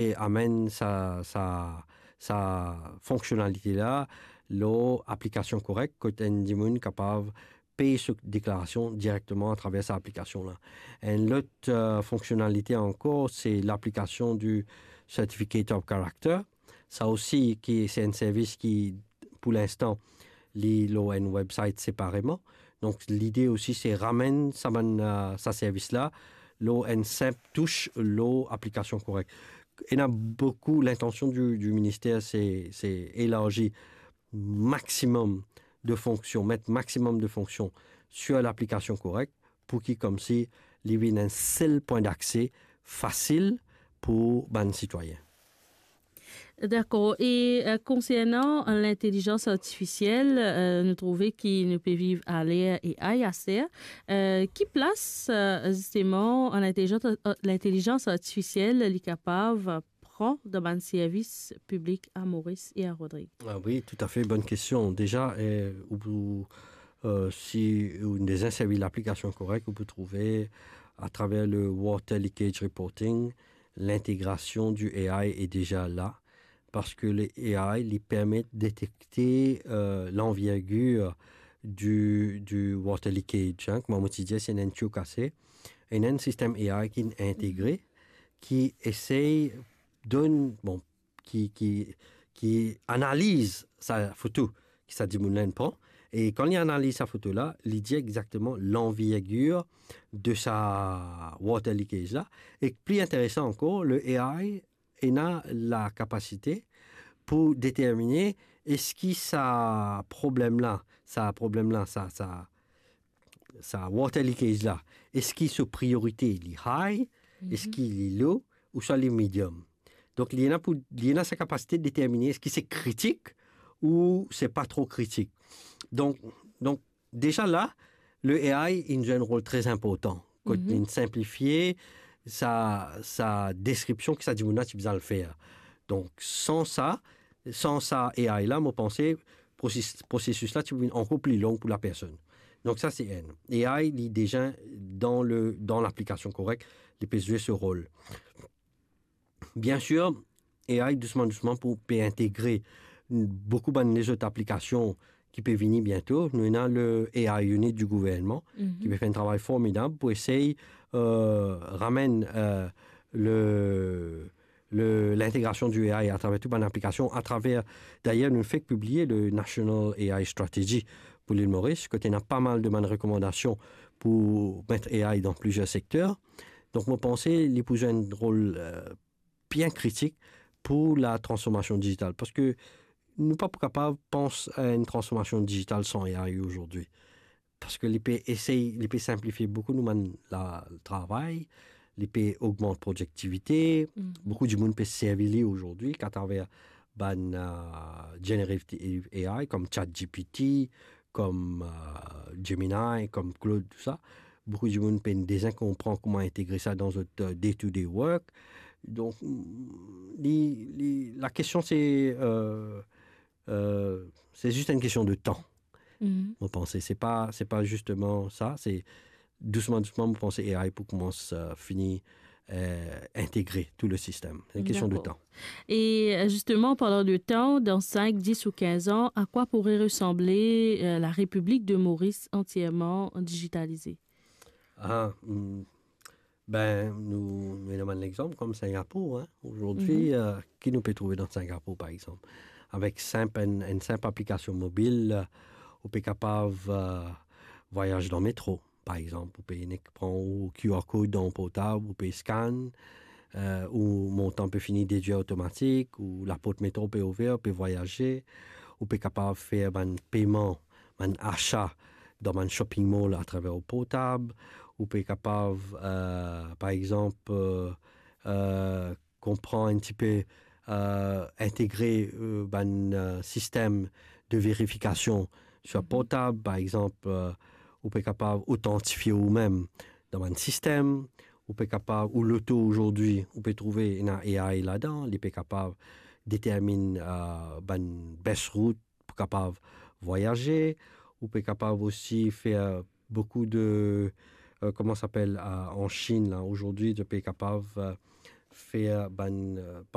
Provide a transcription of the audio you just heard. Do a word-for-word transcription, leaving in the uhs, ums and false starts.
e amenn sa, sa, sa fonksionalite la lor aplikasion korek, kot enn dimoun kapav pey so deklarasion direkteman atraver sa aplikasion la. Enn lot, eh, fonksionalite ankor, se laplikasion di Certificate of Character. Sa osi, ki, se enn servis ki, pou linstan, li lor enn website separeman. Donk, lide osi, se ramenn sa bann, eh, sa servis la, lor enn sinp tous lor aplikasion korek. Ena boukou, lintansion di, di minister, se, se elarzi maximum de fonksion, met maximum de fonksion sur laplikasion korek, pou ki, koumsi, li vinn enn sel pwin dakse fasil pou bann sitwayin. Dakor. E, eh, konsernan lintelizans artifisiel, eh, nou trouve ki nou pe viv aler A I aster. Eh, ki plas, eh, zisteman, lintelizans, eh, lintelizans artifisiel li kapav pran dan bann servis piblik a Moris e a Rodrig? Ah wi, toutafe, bonn kestion. Deza, eh, ou pou, eh, si ou deza servi laplikasion korek, ou pou trouve, atraver le water leakage reporting, lintegrasion di A I est déjà là, parski le A I, li permet detekte, eh, lanvergir di, di water leakage, hein, kouma mo ti dir, si ena enn tiyo kase, ena enn sistem A I ki integre, ki esey donn, bon, ki, ki, ki analiz sa foto ki sa dimoun la inn pran, e kan li analiz sa foto la, li dir exakteman lanvergir de sa water leakage la. E pli interesan ankor, le A I ena lakapasite pou determine eski sa problem la, sa problem la, sa, sa, sa water leakage la, eski so priorite li high, eski li low, ouswa li medium. Donk, li ena pou, li ena sa kapasite determine eski se kritik ou se pa tro kritik. Donk, donk, deza la, le A I inn zwe enn rol tre inportan, kot li sinplifie sa, sa deskripsion ki sa dimoun la ti bizin al fer. Donk, san sa, san sa A I la, mo panse, prosesis, prosesis la ti pou vinn ankor pli long pou lapersonn. Donk, sa se enn. A I, li deza dan le, dan laplikasion korek, li pe zwe so rol. Biensir, A I dousman, dousman pou pe integre boukou bann lezot aplikasion ki pe vini biento. Nou ena le A I Unit di gouvernman, ki pe fer enn travay formidab pou esey, eh, ramenn, eh, le, le, lintegrasion di A I atraver tou bann aplikasion, atraver, dayer, nou fek pibliye le National A I Strategy pou Lil Moris, kot ena pa mal de bann rekomandasion pou met A I dan plizier sekter. Donk, mo panse li pou zwe enn rol, eh, bien kritik pou latransformasion dizital, parski nou pa pou kapav pans a enn transformasion dizital san A I azordi. Parski li pe esey, li pe sinplifie boukou nou bann la, travay, li pe ogmant prodiktivite. Boukou dimoun pe servi li azordi atraver bann, eh, generative A I, kom ChatGPT, kom, eh, Gemini, kom Claude, tou sa. Boukou dimoun pena deza konpran kouma integre sa dan zot, eh, day-to-day work. Donk, mm, li, li, lakestion se, eh, eh, se zis enn kestion de tan. Mo panse, se pa, se pa zisteman sa, se dousman, dousman, mo panse A I pou koumans, eh, fini, eh, integre tou le sistem. Se enn kestion de tan. Dakor. E, eh, zisteman, parlan de tan, dan sink, dis ou kinz an, a kwa pourrait ressembler, eh, la République de Maurice entièrement digitalisée? Ah, hmm. Ben, nou, nou ena bann lexanp kom Singapour, hein. Azordi, eh, ki nou pe trouve dan Singapour, par exanp? Avek sinp, enn, enn sinp aplikasion mobil, eh, ou pe kapav, eh, vwayaz dan metro, par exanp. Ou pe nek pran ou Q R code dan ou portab, ou pe scan, eh, ou montan pe fini dedwir otomatik, ou laport metro pe ouver, ou pe vwayaze, ou pe kapav fer bann peyman, bann asa dan bann shopping mall atraver ou portab, ou pe kapav, eh, par exanp, eh, eh, konpran enn tipe, eh, integre, eh, bann, eh, sistem de verifikasion sir portab, par exanp, eh, ou pe kapav otantifie ou mem dan bann sistem, ou pe kapav, ou loto azordi, ou pe trouve ena A I ladan, li pe kapav determinn, eh, bann best route pou kapav vwayaze, ou pe kapav osi fer boukou de, eh, kouma sa apel, eh, an Chine la, azordi, ou pe kapav, eh, fer bann, eh,